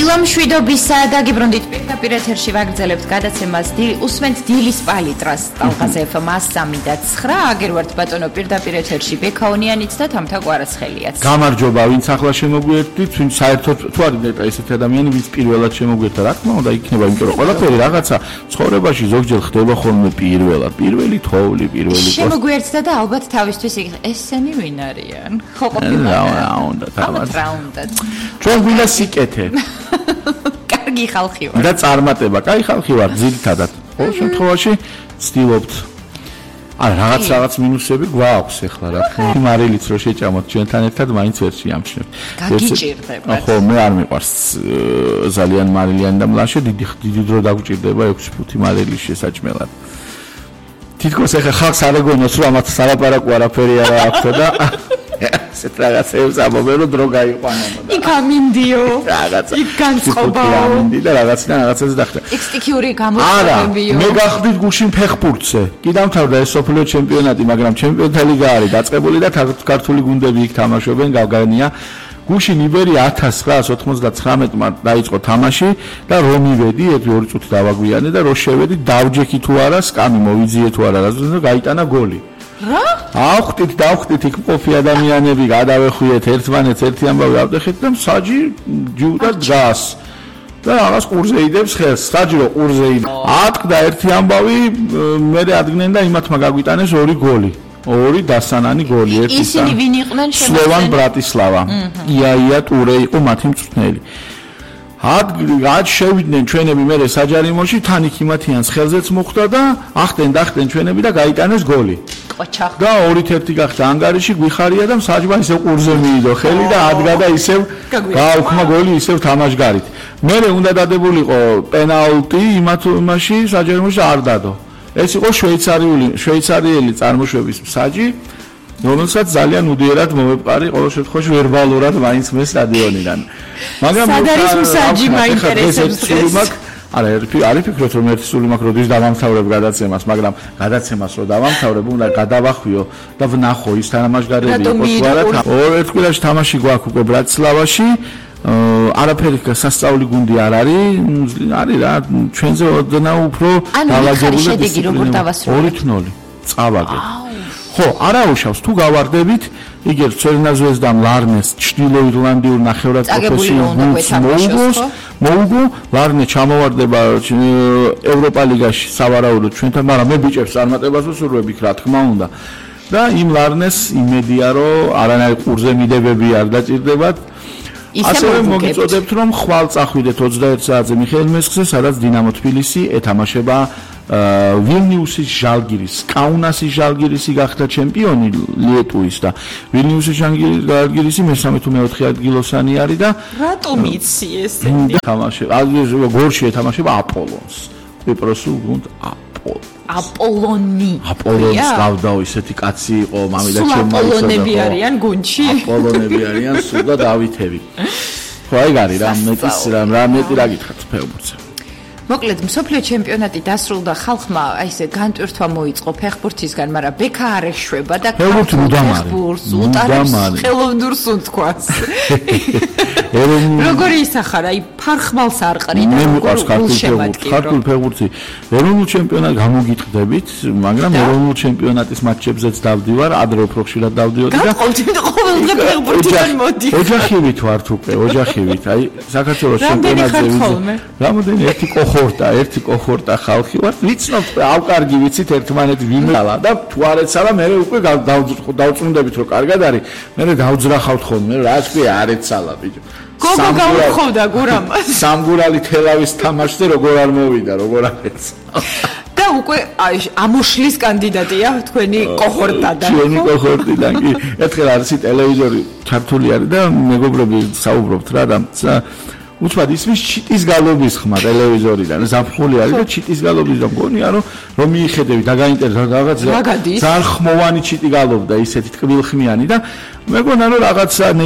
დილამშვიდობისა დაგიბრუნდით პირდაპირ ეთერში ვაგრძელებთ გადაცემას უსმენთ დილის პალიტრას ტალღაზე FM 103.9 აგერ ვართ ბატონო პირდაპირ ეთერში ბექაონიანიც და თამთა კვარაცხელიაც გამარჯობა ვინც ახლა შემოგვიერთდით ვინც საერთოდ თუ არის ნეტა ესეთი ადამიანი ვინც პირველად შემოგვიერთდა რა თქმა უნდა იქნება იმიტომ რომ ყველაფერი რაღაცა ცხოვრებაში ზოგჯერ ხდება ხოლმე პირველად პირველი თოვლი პირველი შემოგვიერთდა და ალბათ თავისთვის ესენი ვინ არიან ხო ყოფილა ჩვენ ვინა სიკეთე კარგი ხალხი ვარ და წარმატება კაი ხალხი ვარ ძირითადად ყოველ შემთხვევაში ვცდილობთ რაღაც მინუსები გვაქვს ახლა რა თქმა მარილიც რო შეჭამოთ ჩვენთან ერთად მაინც ვერ შეამჩნევთ გაგიჭირდება ხო მე არ მიყვარს ძალიან მარილიანი და მლაშე დიდი დრო დაგვჭირდება 6 მარილი შესაჭმელად თითქოს ახლა ხალხს არ ეგონოს რომ ამათ სალაპარაკო არაფერი არა აქვს და ესეთ რაღაცებს ამობენ რომ დრო გაიყვანო იქ ამინდიო იქ განწყობაო ამინდი და რაღაცას დახვდა ექსტიქიური გამოწვევებიო მე გახდით გუშინ ფეხბურთზე კი დამთავრდა ეს სოფლიო ჩემპიონატი მაგრამ ჩემპიონთა ლიგა არის დაწყებული და ქართული გუნდები იქ თამაშობენ გავგანია გუშინ იბერია 1999-მა დაიწყო თამაში და რომ მივედი 2 წუთი დავაგვიანე და რო შევედი დავჯექი თუ არა სკამი მოვიძიე თუ არა და გაიტანა გოლი რა? დავხვდით იქ მყოფი ადამიანები, გადავეხვიეთ ერთმანეთს ერთი ამბავი ავტეხეთ და საჯი ჯუდა დგას. და რაღაც ყურზე იდებს ხელს, საჯი რო ყურზე იდებს. ატყდა ერთი ამბავი, მე ადგნენ და იმათმა გაგვიტანეს 2 გოლი. 2 დასანანი გოლი, ერთი ისინი ვინ იყვნენ შემოსვლელი? სლოვან ბრატისლავა. ია ტურე იყო მათი მწვრთნელი. ad შევიდნენ ჩვენები მე საჯარიმოში თან იქ იმათიანს ხელზეც მოხვდა და ახტენ ჩვენები და გაიტანეს გოლი. და 2-1 გახდა ანგარიში გვიხარია და საჯმა ისევ ყურზე მიიდო ხელი და ადგა და ისევ გააუქმა გოლი ისევ თამაშგარით. მე უნდა დადებულიყო პენალტი იმაში საჯარიმოში არ დადო. ეს იყო შვეიცარიელი წარმოშობის საჯი რომელსაც ძალიან უდიერად მომეპყარი ყოველ შემთხვევაში ვერბალურად მაინც მე სტადიონიდან. მაგრამ სადარის მსაჯი მაინტერესებს დღეს. არა, არ ფიქრობთ რომ ერთი სული მაქვს როდის დავამთავრებ გადაცემას, მაგრამ გადაცემას რო დავამთავრებ, უნდა გადავახვიო და ვნახო ის თამაშგარები იყო თუ არა. ერთ კვირაში თამაში გვაქვს უკვე ბრატისლავაში. არაფერი სასწაული გუნდი არ არის რა, ჩვენზე ოდნა უფრო დავაგებული შედეგი როგორ დავასრულეთ? 2-0 წავაგე. ხო, არაუშავს თუ გავარდებით, იგივე ცერნაზვესდამ ლარნეს ჩრდილო ირლანდიურ ნახევრად პროფესიულ გუნდს მოუგო, ლარნე ჩამოვარდება ევროპა ლიგაში სავარაუდოდ ჩვენთან, მაგრამ მე ბიჭებს წარმატებას ვუსურვებთ რა თქმა უნდა. და იმ ლარნეს იმედია რომ არანაირ ყურზე მიდებები არ დაჭირდებათ. ასევე მოგიწოდებთ რომ ხვალ წახვიდეთ 21 საათზე მიხეილ მესხზე, სადაც დინამო თბილისი ეთამაშება ვილნიუსის ჟალგირის, კაუნასის ჟალგირისი გახდა ჩემპიონი ლიეტუის და ვილნიუსის ჟალგირისი მესამე თუ მეოთხე ადგილოსანი არის და რატომ იცი ესენი? თამაშება, გორში ეთამაშება აპოლონს. კვიპროსულ გუნდ აპოლონს გავდაო ისეთი კაცი იყო მამიდა ჩემმა აპოლონები არიან გუნდში? აპოლონები არიან სულ და დავითები. ხო აი გარი რა მეტი რა გითხართ ფეხბურთზე. მოკლედ მსოფლიო ჩემპიონატი დასრულდა ხალხმა აი ესე განტვირთვა მოიწყო ფეხბურთისგან, მაგრამ ბექა არ ეშვება და ფეხბურთს უტარებს ხელოვნურს უთქვას. როგორი ისახარ, აი ფარხმალს არ ყრიდა, როგორ გულშემატკივრო. ქართულ ფეხბურთი ეროვნულ ჩემპიონატს გამოგიტყდებით, მაგრამ ეროვნულ ჩემპიონატის მატჩებზეც დავდივარ, ადრე უფრო ხშირად დავდიოდი და ყოველდღე ფეხბურთიდან მოდი. ოჯახივით ვართ უკვე, ოჯახივით. აი საქართველოს ჩემპიონატზე რამოდენი ერთი კოხორტა ხალხი ვართ, ვიცნობთ, ავკარგი ვიცით ერთმანეთ ვიმელა და თუ არ ეცალა მე უკვე დავწუნდებით რომ კარგად არის, მე დავძრახავთ ხოლმე, რა თქვია არ ეცალა ბიჭო. გოგო გავხოვდა გურამას. სამგურალი თელავის თამაშზე როგორ არ მოვიდა, როგორ არ ეცალა. და უკვე ამოშლის კანდიდატია თქვენი კოხორტადან. ჩვენი კოხორტიდან კი. ერთხელ არის ტელევიზორი ქართული არის და მეგობრები საუბრობთ რა და უცბად ისმის ჩიტის გალობის ხმა ტელევიზორიდან ზაფხული არის და ჩიტის გალობის რომ გონია რომ მიიხედები და გაინტერესდა რაღაც ძალიან ხმოვანი ჩიტი გალობდა ისეთი ტკბილხმიანი და მეგონა რომ რაღაცა